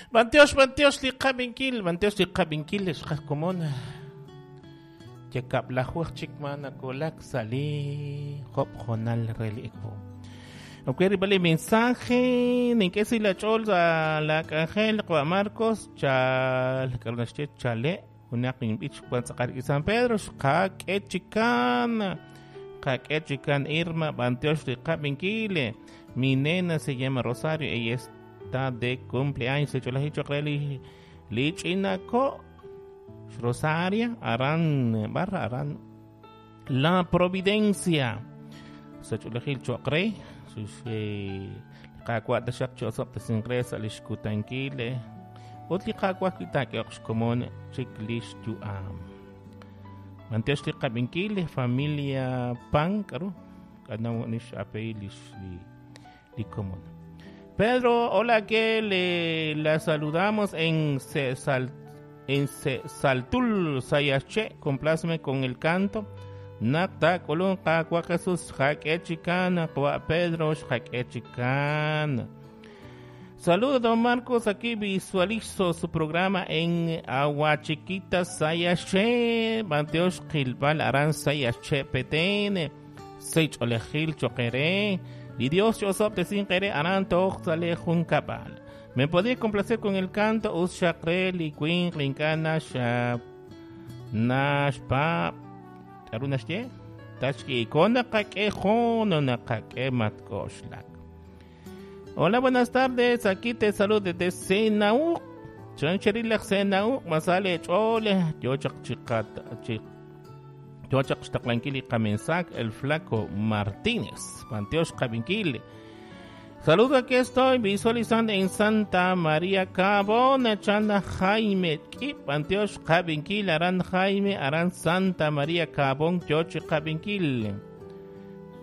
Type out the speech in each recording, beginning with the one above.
B'antiox, b'antiox li qab'inkil, b'antiox li qab'inkil xqaj komon. Yakab'lajuj chik ma nakolak sa' li job jonal re li ewo. Ok, rib'al li mensaje, nink'e si la ch'ol sa la k'anjel qwa Marcos, chal, k'aru naxye chale, junaq inb'ich wan tz'aqal rik'in San Pedro, xqak'e chikan, qak'e chikan Irma, b'antiox li qab'inkil. Mi nena se llama Rosario, ella está de cumpleaños, se cholaji choq re li ch'inako Rosaria, aran barra aran La Providencia. Sa ch'olejil choq re, qaawa' taxaq cho'soq tasinqre sa' lix kutankil, ut li qaawa' kitaak'eoq xkomon chik lix yu'am. B'antiox li qab'inkil, familia Pan, k'aru? K'anaw nix apey lix li komon. Pedro, hola, que le la saludamos en Saltul Sayache, complázme con el canto. Nakta kolon qaawa Jesús xak'e chikan, qwa Pedro xak'e chikan. Saludos, don Marcos, aquí visualizo su programa en Aguachiquita Sayache, Banteosh Gilbal Aran Sayache PTN, Seich Olejil Choquere, y Dios Yosop te sin querer Aran Toch Sale Juncabal. Me podía complacer con el canto Ushakre Liquin Linkana Shap Nashpa Arunashye Tachki Kona Kake Jono Nakake Matkoshlak. Hola, buenas tardes. Aquí te saludo desde Senaú. Chancherilak Senaú, Masale Chole, Yochak Chikat Chik. Yochak Xtaqlanquili Kamensac, el Flaco Martínez, Panteosh Kabinquili. Saludo, aquí estoy visualizando en Santa María Cabona, Chana Jaime, Kip, Antioch Kabinquil, Aran Jaime, Aran Santa María Cabón, Yoche Kabinquil.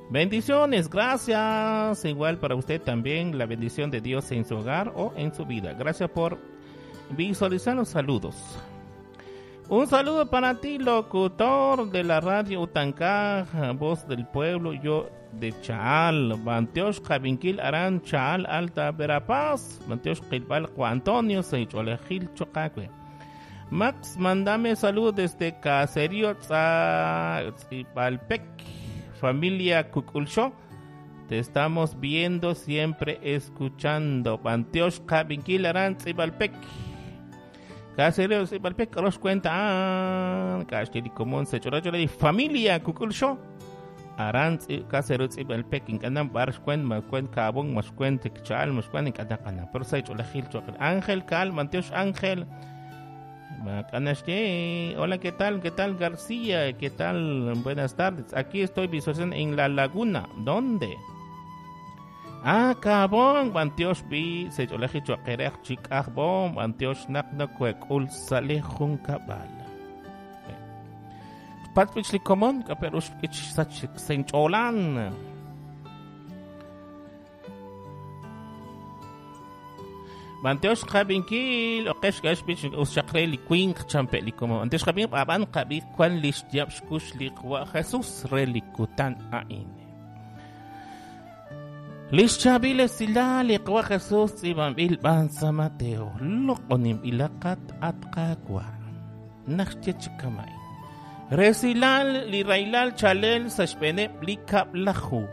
Bendiciones, gracias. Igual para usted también la bendición de Dios en su hogar o en su vida. Gracias por visualizar los saludos. Un saludo para ti, locutor de la radio Utancaj, voz del pueblo, yo de Chaal, Bantiosh Kabinquil Aran Chaal Alta Verapaz, Bantiosh Qilbal Juan Antonio, Seicholejil Chocacue. Max, mándame saludos desde Caserío Tzipalpec, familia Cuculcho. Te estamos viendo, siempre escuchando. Bantiosh Kabinquil Aran Tzipalpec. Caserío Tzipalpec, los cuenta. Castili común, Seicholejil, familia Cuculcho. Aran Caserío Tzipalpec, incanam barsh cuen, macuen cabón, mascuen tekchal, mascuen incatacana. Pero Seicholejil Choquel. Ángel Cal, Bantiosh Ángel. Hola, ¿qué tal? ¿Qué tal, García? ¿Qué tal? Buenas tardes. Aquí estoy visualizando en La Laguna. ¿Dónde? Ah, Cabón. Bantiosh bi secholeji choquerej chikajbón. Bantiosh nakna kuekul sale juncabal. Patwich li komon, kaperush ich sach sencholan. Bantiosh qabinkil oqesh gash bich ushaqre li quink champe li como Bantiosh qabin aban qabi kwan lish diab xkush li qwa Jesús re li kutan ain. Lish chabile sila li qwa Jesús iban bil ban San Mateo loqonim ilaqat atqaqwa naxche chikamay. Resilal li railal chalel sashpene li kaplahu.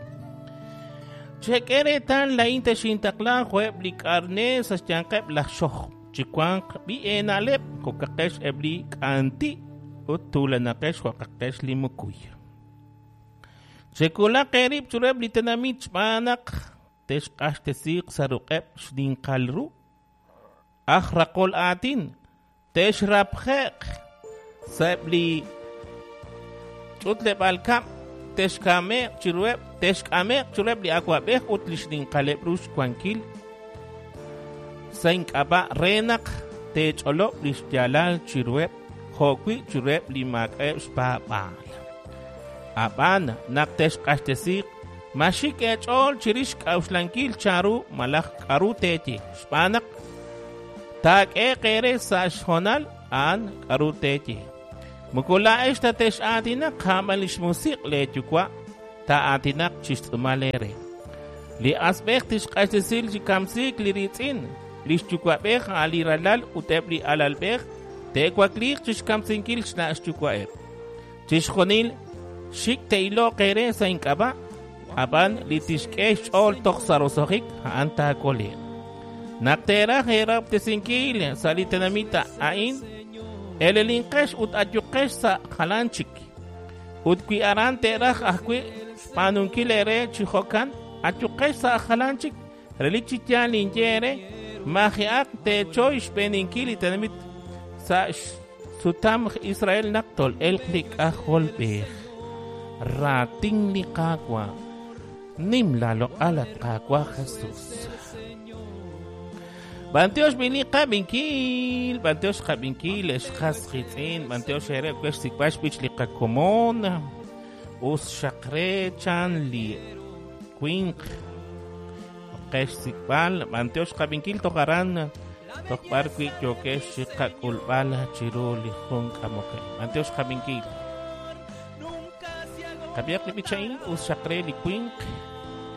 Chequeretan la inte xintaklan jueb li carne sasyanqeb la xoj chikuanq bi enaleb kokaqesh ebli kanti utulanaqesh waqaqesh limukuy. Chekula qerib chureb li tenamit manaq teshqaxtesiq saruqeb xdinqalru ajraqol atin teshrabjeq sebli ch'utleb alkab texkameq chirueb texkameq chureb li akwab'ej ut li xninqaleb ru xwankil sa ink'ab'a renaq tech'olob li xyaalal chirueb jo'wi chirueb li maak'eb xpaab'aal. Ab'an naq texq'axtesiq maxik ech'ool chirix k'awxlankil charu malaj k'aru teeye xb'aan naq taak'e qere sa' xjonal a'an k'aru teeye. Mukula esta tesh atinaq ja'b'al lix musiq le yuwa' ta'atinaq chixtz'umal ere. Li asb'ej tixq'axtesil chi kamsiik li ritz'in Li xyuwa'b'ej a'an li ralal ut eb' li alalb'ej te'wakliiq chi xkamsinkil xna' xyuwa'eb'. Chixjunil xik' te'iloq eere sa' ink'ab'a', ab'an li tixk'e xch'ool toj sa' roso'jik, a'an taakole'q. Naq teeraj eerahob'tesinkil sa' li tenamit a'in, elelinqex ut ayuqex sa' jalan chik. Ut wi aran te'raj ajwi' xb'aanunkil eere chi jo'kan, ayuqex sa' jalan chik. Relik chi yaal ninye eere, maji'aq teechoy xb'eeninkil li tenamit sa' xsutam Israel naq tol'elq li K'ajolb'ej. Raatin li Qaawa'. Nim laaloq'al, at Qaawa' Jesus. B'antiox b'i li qab'inkil, b'antiox qab'inkil, ex qas qiitz'in, b'antiox eere we xsik'b'al xb'ich li qakomon. Us xaq re chan li winq qe xsik'b'al, b'antiox qab'inkil toj aran, toj b'ar wi' yookex chi qak'ulb'al chiru li jun k'amok. B'antiox qab'inkil. Qab'ihaq li b'ich a'in, us xaq re li winq.